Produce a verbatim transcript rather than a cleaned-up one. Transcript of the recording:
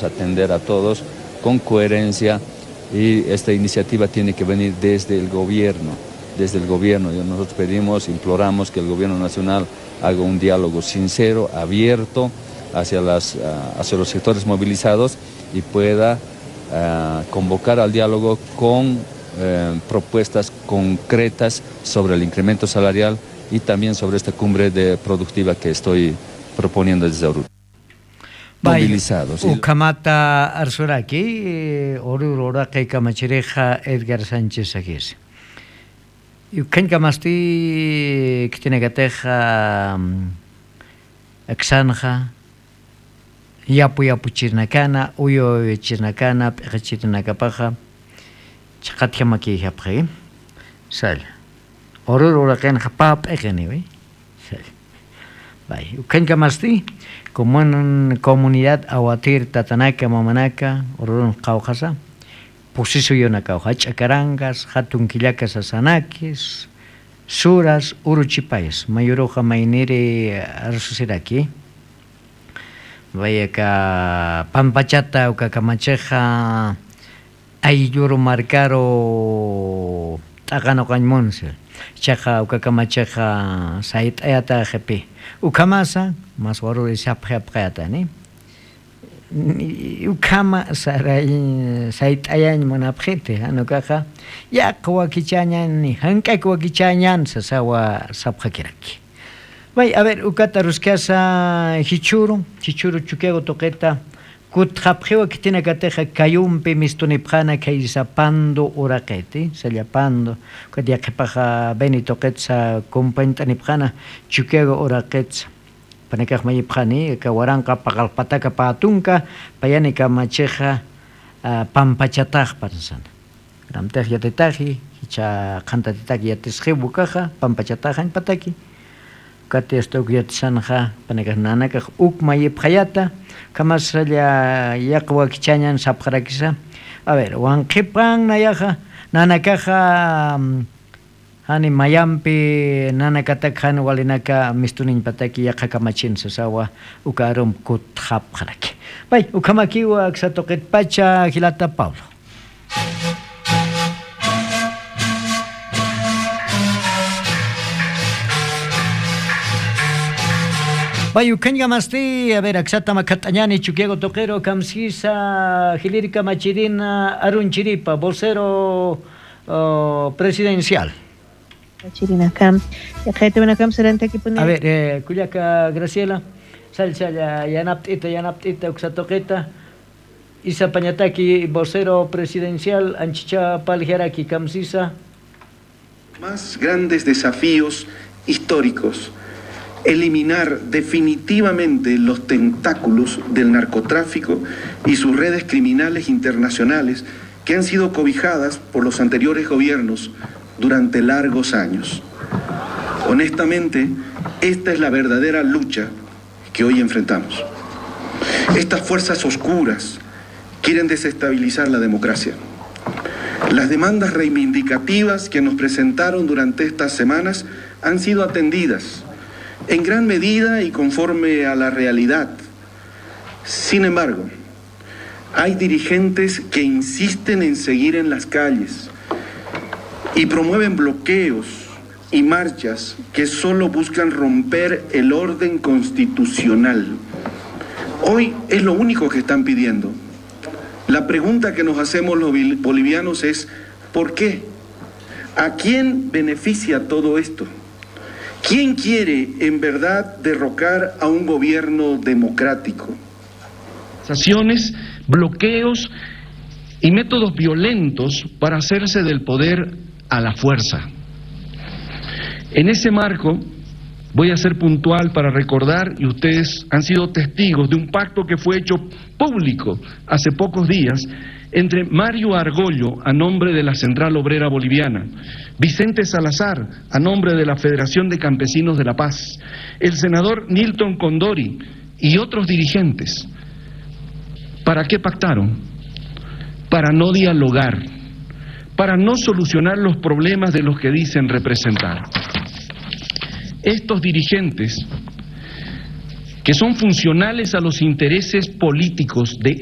atender a todos con coherencia y esta iniciativa tiene que venir desde el gobierno, desde el gobierno. Y nosotros pedimos, imploramos que el gobierno nacional haga un diálogo sincero, abierto hacia las, ah, hacia los sectores movilizados y pueda, ah, convocar al diálogo con, eh, propuestas concretas sobre el incremento salarial y también sobre esta cumbre de productiva que estoy proponiendo desde Oruro. Movilizados. Ukhamata arsuraki, eh, Oruro uraqi kamachirixa Edgar Sánchez Aguirre. Ukhañkamasti khitinakatixa, mm, aksanxa, yapu yapuchirinakana, uyu uyuchirinakana, p'iqichirinakapaxa, chhaqatjamakiyjapxi, salla. Oruro uraqinxa pä p'iqiniwi. Salla. Bay, ukhañkamasti, comun-, comunidad Awatir tatanaka, mamanaka, Orurun qawqhasa, pusisuyunakaw, jach'a karangas, jatun killaka sasanakis, suras, uruchipayas, mayuruxa mayniri arsusiraki. Vaya ka pampachata uka kamachixa aylluru markaru t'aqanuqañ munsi. Chiqa uka kamachixa sayt'ayata qipi. Ukhamasa, mas waruri sapxi apqayatani. Ukhama saray, sayt'ayañ munapxiti, jan ukaxa, yaq wakichañan, jank'ak wakichañan, sasawa sapxakiraki. Vay, a ver, ukat aruskasa jichhuru, jichhuru Chukiyawu tuqita, kutxapxiwa khitinakatixa Cayumpi mistunipxana khaysa Pando uraqiti, salla Pando, ukat yaqhipaxa Beni tuqitsa compañt'anipxana Chukiyawu uraqitsa. Panakax mayipxani, aka waranqa paqallq pataka pä tunka, payani kamachixa, ah, pampachatax pansana. Amtix yatitaxi, jichha qhantatitaki yatisxiw ukaxa, pampachataxañ pataki. Ukati hasta uk yatisanxa, panakax nanakax uk mayipxayata, ukhamasalla yaq wakichañan sapxarakisa. A ver, wanqhipan nayaxa, nanakaxa, mm, jani mayampi nanakatak jan walinaka mistuniñpataki yaqha kamachin sasawa, uka arum kutxapxaraki. Pay, ukhamakiwa aksa tuqitpacha jilata Pablo. Pay, ukhañkamasti, a ver, aksata makhat'añani Chukiyawu tuqiru, kamsisa jiliri kamachirina arunchiripa, vocero, oh, presidencial. Kachirinakam, yaqhaytawinakam sarantakipuni. A ver, eh, kullaka Graciela, salla, salla, yanapt'ita, yanapt'ita, uksa tuqita, isa pañataki vocero presidencial, anchicha parljaraki, kamsisa. Más grandes desafíos históricos: eliminar definitivamente los tentáculos del narcotráfico y sus redes criminales internacionales que han sido cobijadas por los anteriores gobiernos durante largos años. Honestamente, esta es la verdadera lucha que hoy enfrentamos. Estas fuerzas oscuras quieren desestabilizar la democracia. Las demandas reivindicativas que nos presentaron durante estas semanas han sido atendidas en gran medida y conforme a la realidad. Sin embargo, hay dirigentes que insisten en seguir en las calles y promueven bloqueos y marchas que solo buscan romper el orden constitucional. Hoy es lo único que están pidiendo. La pregunta que nos hacemos los bolivianos es: ¿por qué? ¿A quién beneficia todo esto? ¿Quién quiere en verdad derrocar a un gobierno democrático? Bloqueos y métodos violentos para hacerse del poder a la fuerza. En ese marco, voy a ser puntual para recordar, y ustedes han sido testigos de un pacto que fue hecho público hace pocos días entre Mario Argollo, a nombre de la Central Obrera Boliviana, Vicente Salazar, a nombre de la Federación de Campesinos de La Paz, el senador Nilton Condori y otros dirigentes. ¿Para qué pactaron? Para no dialogar, para no solucionar los problemas de los que dicen representar. Estos dirigentes, que son funcionales a los intereses políticos de